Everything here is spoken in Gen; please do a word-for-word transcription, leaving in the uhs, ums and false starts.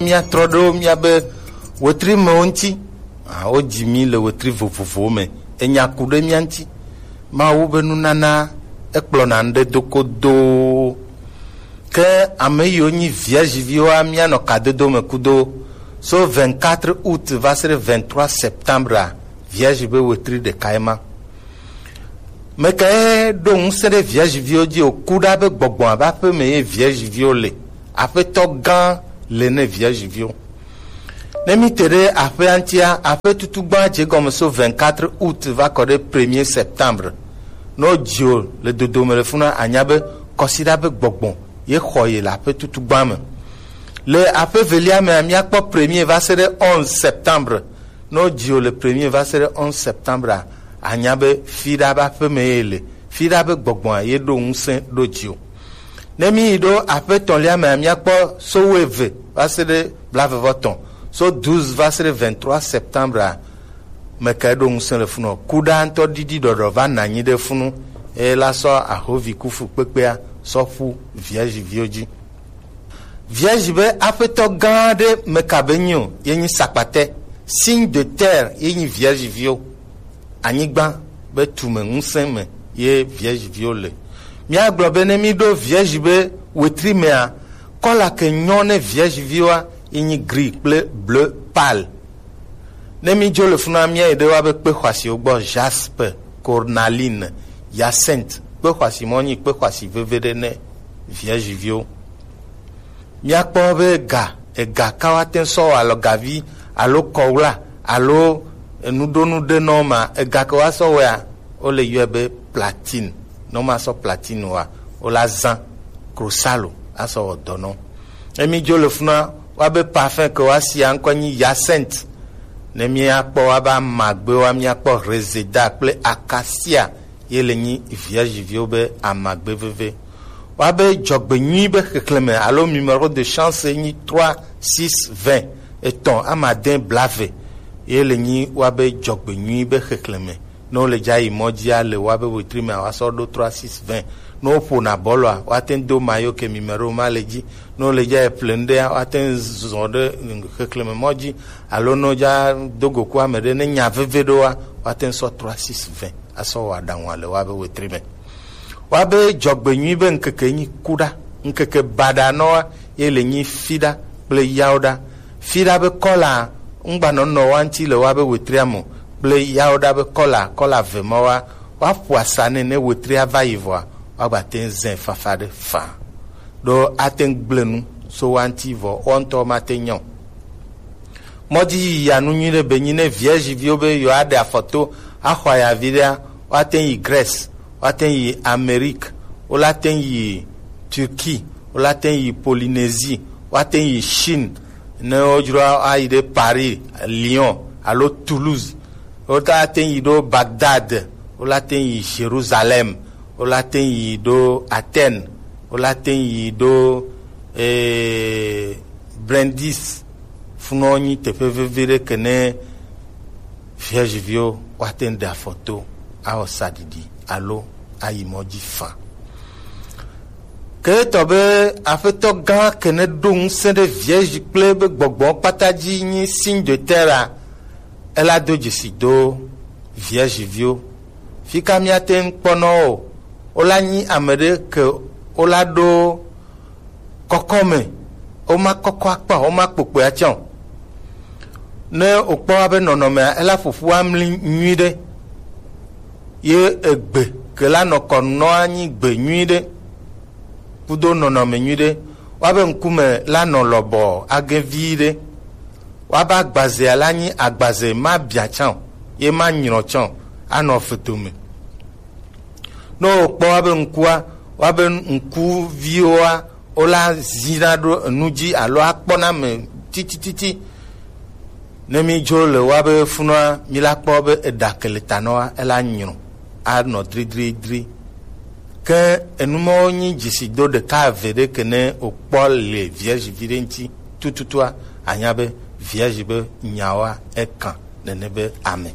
Míatrɔ ɖo míabe wetri mewo ŋuti. Ah, wodzi mí le wetri vovovowo me. Enya ku ɖe mía ŋuti. Mawu be nunana ekplɔna ŋɖe do kodoo. Ke ame yiwo nyi Vierge viwoa, míanɔ kadodo me kudo. So vingt-quatre août va se ɖe vingt-trois septembre a, Vierge be wetri ɖeka ye ma. Mekae ɖo ŋusẽ ɖe Vierge viwo dzi o? Ku ɖa be gbɔgbɔa be aƒe me ye Vierge viwo le. Aƒetɔ gã le ne Vierge viwo. Ne mi te ɖe aƒea ŋutia, aƒe tutu gbã dze gɔme so vingt-quatre août va kɔ ɖe premier septembre. Ne wodzi o le dodome le funa, anya be kɔsiɖa be gbɔgbɔ ye xɔ ye le aƒe tutu gbã me. Le aƒe velia mea, míakpɔ premier va se ɖe onze septembre. Ne wodzi o le premier va se ɖe onze septembre a, anya be fiɖa be aƒe me ye le. Fiɖa be gbɔgbɔa ye ɖo ŋusẽ ɖo dzi o. Ne mi yi ɖo aƒe etɔ̃lia mea, míakpɔ so wuieve va se ɖe blaeve vɔ etɔ̃. So douze va se ɖe vingt-trois septembre a, mekae ɖo ŋusẽ le funu o? Ku ɖa ŋutɔ ɖiɖi ɖɔɖɔ va nɔ anyi ɖe funu, eye la sɔ ahovi kufu kpekpea sɔ ƒu Vierge viwo dzi. Vierge be aƒetɔ gã ɖe meka be nyi o, ye nyi sakpatɛ. Signe de terre ye nyi Vierge viwo. Anyigba be tume ŋusẽ me ye Vierge viwo le. Míagblɔ be ne mi ɖo Vierge be wetri mea, kɔla ke nyɔ ne Vierge viwoa, ye nyi gris kple bleu pâle. Ne mi dzo le funa, míayi ɖe woabe kpe xɔasiwo gbɔ: jaspe, cornaline, hyacinthe. Kpe xɔasi mɔ nyi kpe xɔasi veve ɖe ne Vierge viwo. Míakpɔ be ega, ega ka woate sɔ wɔ alɔgavi alo kɔwla alo enuɖonu ɖe nɔ ma, ega ke woasɔ wɔa, wole yɔe be platine. Ne woma sɔ platine wɔa, wola zã krosalo asɔ wɔ dɔ nɔ. Ne mi dzo le funa, woabe parfum ke woasia ŋkɔ nyi hyacinthe. Ne míakpɔ woabe amagbewoa, míakpɔ reseda kple acacia, ye le nyi Vierge viwo be amagbe veve. Woabe dzɔgbenyui be xexlẽme alo numéro de chance nyi trois six vingt, etɔ̃ amade blaeve. Ye le nyi woabe dzɔgbenyui be xexlẽme. Ne wole dza yi mɔ dzia, le woabe wetri mea, woasɔ ɖo trois six vingt. Ne woƒona bɔlɔa, woate ŋu do mayo ke numéro ma le dzi. Ne wole dza yi ƒle nu ɖea, woate ŋu zɔ ɖe xexlẽme mɔ dzi, alo ne wodza do go ku ame ɖe, ne nya veve ɖoa, woate ŋu sɔ trois six vingt asɔ wɔ aɖaŋua le woabe wetri me. Woabe dzɔgbenyui be ŋkeke nyi kuɖa, ŋkeke baɖa nɔa ye le nyi fiɖa kple yawoɖa. Fiɖa be kɔla ŋgbanɔnɔ wa ŋuti le woabe wetria me o, kple yawoɖa be kɔla, kɔla ve ma wa, woaƒo asa nɛ ne wetria va yi vɔa, woagbate ŋu zãe fafa ɖe faa. Ɖo ate ŋu gblẽ nu so wa ŋuti vɔ, wo ŋutɔ mate ŋu nya o. Mɔdzi yiyi anu nyui ɖe be nyi ne Vierge viwo be yewoaɖe afɔ to axɔ ayavi ɖea, woate ŋu yi Grèce, woate ŋu yi Amérique, wolate ŋu yi Turquie, wolate ŋu yi Polynésie, woate ŋu yi Chine, ne wodzro ayi ɖe Paris, Lyon alo Toulouse, wolate ŋu yi ɖo Bagdad, wolate ŋu yi Jérusalem, wolate ŋu yi ɖo Athènes, wolate ŋu yi ɖo, eh, Brindisi. Funɔ nyi teƒe vevi ɖe ke ne Vierge viwo woate ŋu ɖe afɔ to, awɔ saɖiɖi alo ayi mɔ dzi faa. Ke etɔ be Aƒetɔ gã ke ne ɖo ŋusẽ ɖe Vierge kple be gbɔgbɔ kpata dzi nyi signe de terre a, ela do dzesi do Vierge viwo. Fika míate ŋu kpɔ nɔ wo? Wola nyi ame ɖe ke wola ɖo kɔkɔ me, woma kɔkɔ akpa, woma kpokpoe atsã o. Ne wokpɔ woabe nɔnɔmea, ela ƒoƒu amli nyui ɖe. Ye egbe ke la nɔ kɔ nɔa nyi gbe nyui ɖe, kudo nɔnɔme nyui ɖe. Woabe ŋkume la nɔ lɔbɔ age vi ɖe. Woabe agbazea la nyi agbaze ma bia tsã o, ye ma nyrɔ tsã o, anɔ vodome. Ne wokpɔ woabe ŋkua, woabe ŋkuviwoa, wola zina ɖo enu dzi alo akpɔna ame titititi. Ne mi dzo le woabe funɔa, mi la kpɔ be eɖa ke le ta nɔa, ela nyrɔ, anɔ dridridri. Ke enu mawo nyi dzesido ɖeka eve ɖe ke ne wokpɔ le Vierge vi ɖe ŋuti tututua, anya be Vierge be nyawoa, ekan nene be ame.